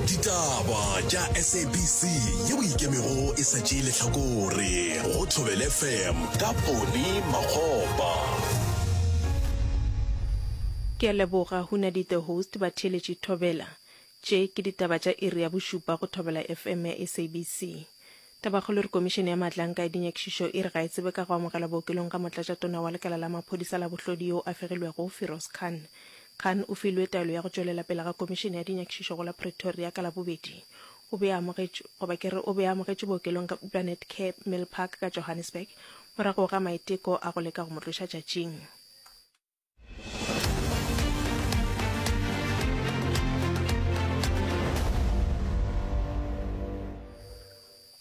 Ditaba tša SABC yeo e ikemego e sa tšee lehlakore go Thobela FM ka Poni Makgopa. Ke a leboga Hunadi the host batheeletši Thobela. Tše ke ditaba tša iri ya bošupa go Thobela FM ya SABC. Tabakgolo e re Komišene ya Maatlanka ya Dinyakišišo e re ga e tsebe ka go amogelwa bookelong ga motlatšatona wa lekala la maphodisa la bohlodi yo a fegilwego, Firoz Khan. Khan o filwe taelo ya go tšwelela pele ga Komišene ya Dinyakišišo go la Pretoria ka Labobedi. O be a amogetšwe, goba ke re o be a amogetšwe bookelong bja Netcare Milpark ka Johannesburg morago ga maiteko a go leka go mo tloša tšatšing.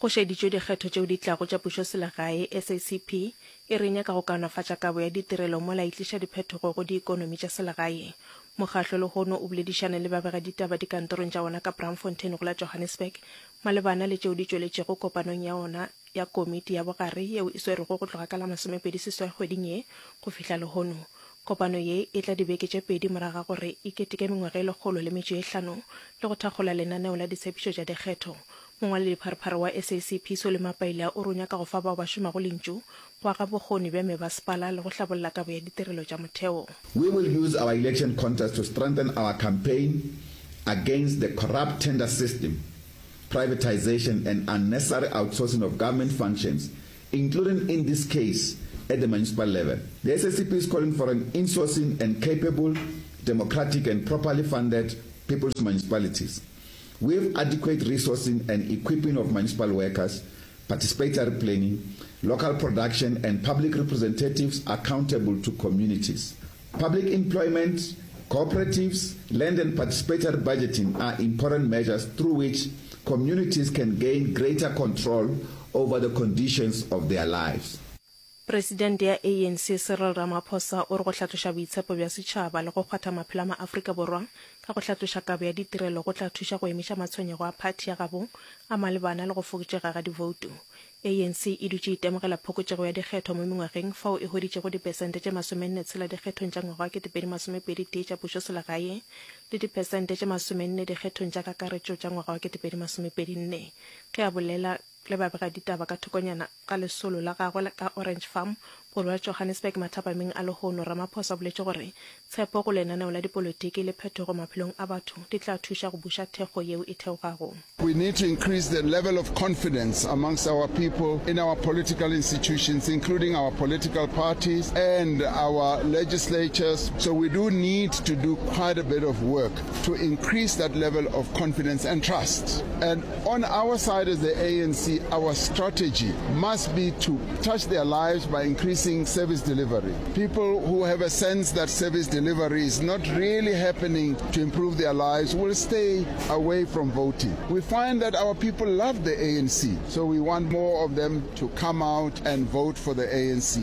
Go šeditšwe dikgetho tšeo di tlago tša pušoselegae, SACP e re e nyaka go kaonafatša kabo ya ditirelo mola e tliša diphetogo go diikonomi tša selegae. Mokgahlo lehono o boledišane le babegaditaba dikantorong tša wona ka Braamfontein go la Johannesburg malebana le tšeo di tšweletšego kopanong ya ona ya komiti ya bogare yeo e swerwego go tloga ka la 28 kgweding ye go fihla lehono. Kopano ye e tla dibeke tše pedi morago ga gore e keteke mengwaga e 105 le go thakgola lenaneo la ditshepišo tša dikgetho. Mongwaledipharephare wa SACP Solly Mapaila o re o nyaka go fa bao ba šomago lentšu go aga bokgoni bja mebasepala le go hlabolla kabo ya ditirelo tša motheo. We will use our election contest to strengthen our campaign against the corrupt tender system privatization and unnecessary outsourcing of government functions, including in this case at the municipal level. The SACP is calling for an insourcing and capable, democratic and properly funded people's municipalities with adequate resourcing and equipping of municipal workers, participatory planning, local production and public representatives accountable to communities. Public employment, cooperatives, land and participatory budgeting are important measures through which communities can gain greater control over the conditions of their lives. Presidente ya ANC Cyril Ramaphosa o re go hlatloša boitshepo bja setšhaba le go kgwatha maphelo a maAfrika Borwa ka go hlatloša kabo ya ditirelo go tla thuša go emiša matshwenyego a phathi ya gabo a malebana le go fokotšega ga divoutu. ANC e dutše e itemogela phokotšego ya dikgetho mo mengwageng fao e hweditšego dipersente tše masomenne tshela dikgethong tša ngwaga wa 2021 tša pušoselegae le dipersente tše masomenne dikgethong tša kakaretšo tša ngwaga wa 2024. Ge a bolela le babegaditaba ka thokonyana ga lesolo la gagwe ka Orange Farm, borwa Johannesburg mathapameng a lehono, Ramaphosa o boletše gore tshepo go lenaneo la dipolotiki le phetogo maphelong a batho di tla thuša go buša thekgo yeo e theogago. We need to increase the level of confidence amongst our people in our political institutions, including our political parties and our legislatures. So we do need to do quite a bit of work to increase that level of confidence and trust. And on our side as the ANC, our strategy must be to touch their lives by increasing service delivery. People who have a sense that service delivery is not really happening to improve their lives will stay away from voting. We find that our people love the ANC, so we want more of them to come out and vote for the ANC.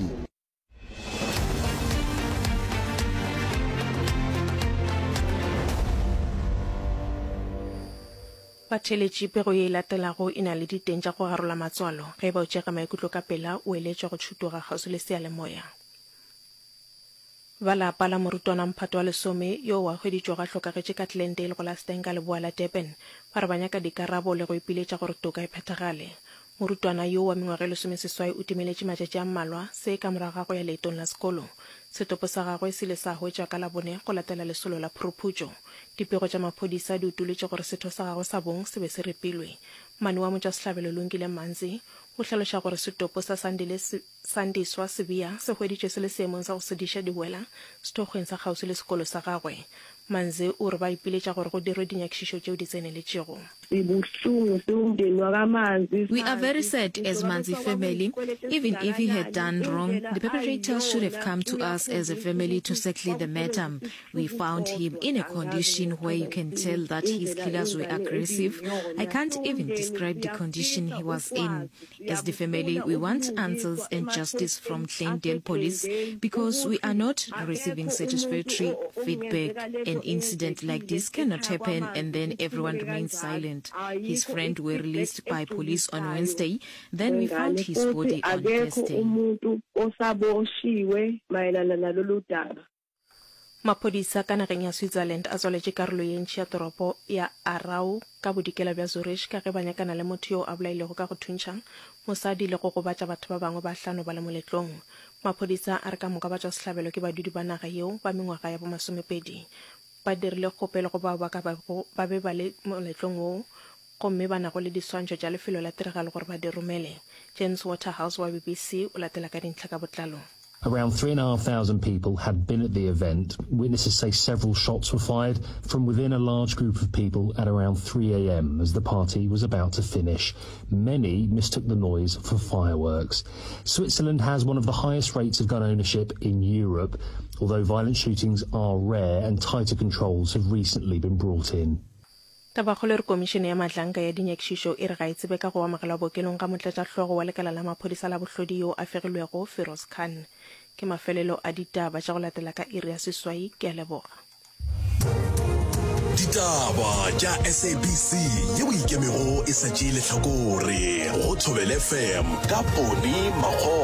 Batheeletši, pego ye e latelago e na le diteng tša go garola matswalo. Ge e ba o tšega maikutlo ka pela, o eletšwa go tšhutoga kgauswi le seyalemoya. Ba lapa la morutwana mphato wa lesome yoo a hweditšwego a hlokagetše ka Glendale go la Stanger leboa la Durban ba re ba nyaka dikarabo le go ipiletša gore toka e phethagale. Morutwana yoo wa mengwaga e lesomeseswai o timeletše matšatši a mmalwa, se ka morago ga go ya leetong la sekolo. Setopo sa gagwe se ile sa hwetšwa ka Labone go latela lesolo la phuruphutšo. Dipego tša maphodisa di utolotše gore setho sa gagwe sa bong se be se ripilwe. Mmane wa motšwasehlabelo Lungile Manzi o hlaloša gore setopo sa Sandile se Sandiswa Sibiya se hweditšwe se le seemong sa go sediša diwela sethokgweng sa kgauswi le sekolo sa gagwe. Manze o re ba ipiletša gore go dirwe dinyakišišo tšeo di tseneletšego. Sibuhlungu siwumndeni wakaManzi We are very sazi sad ngisho as ngabe Manzi kuthiwa family, kwakuyisikweletu even if he had esingakanani done wrong, indlela the perpetrators should have ayiyona come to us as a uyakhombisa family to ukuthi settle the matter. kwakusebenzisa We isihluku found him sodwa in a angazi condition where you ngiyochaza can ngithini tell that his indlela killers were ingane aggressive. I ebiyiyona can't even siwumndeni describe the condition siyafisa he was in. ukwazi As the family, siyabufuna we want ubulungiswa answers and justice from emaphoyiseni Glendale Police aseGlendale because we ukuthi are not receiving akekho umuntu satisfactory o- o- feedback. okungenzeka lento An incident like eyenzekile this cannot ekhaya happen and kwaManzi then everyone ithuleke remains kanjalo silent. His ayikho friend were i-feedback released by police on egculisayo Wednesday. Then we found wengane his futhi body on akekho Thursday. umuntu osaboshiwe mayelana nalolu daba. Maphodisa ka nageng ya Switzerland a tswaletše karolo ye ntši ya toropo ya Aarau ka bodikela bja Zurich ka ge ba nyakana le motho yo a bolailwego ka go thuntšha mosadi le go gobatša batho ba bangwe ba hlano ba le moletlong. Maphodisa a re ka moka batšwasehlabelo ke badudi ba naga yeo ba mengwaga ya bomasomepedi. Ba dirile kgopelo go bao ba ka bago ba be ba le moletlong woo gomme ba nago le diswantšho tša lefelo la tiragalo gore ba di romele. James Waterhouse wa BBC o latela ka dintlha ka botlalo. Around 3,500 people had been at the event. Witnesses say several shots were fired from within a large group of people at around 3 a.m. as the party was about to finish. Many mistook the noise for fireworks. Switzerland has one of the highest rates of gun ownership in Europe, although violent shootings are rare and tighter controls have recently been brought in. Tabakgolo e re Komišene ya Matlanka ya Dinyakišišo e re ga e tsebe ka go amogelwa bookelong ga motlatšahlogo wa lekala la maphodisa la bohlodi yo a fegilwego, Feroz Khan. Ke mafelelo a ditaba tša go latela ka iri ya seswai. Ke a leboga. Ditaba tša SABC yeo e ikemego e sa tšee lehlakore go Thobela FM ka Poni Makgopa.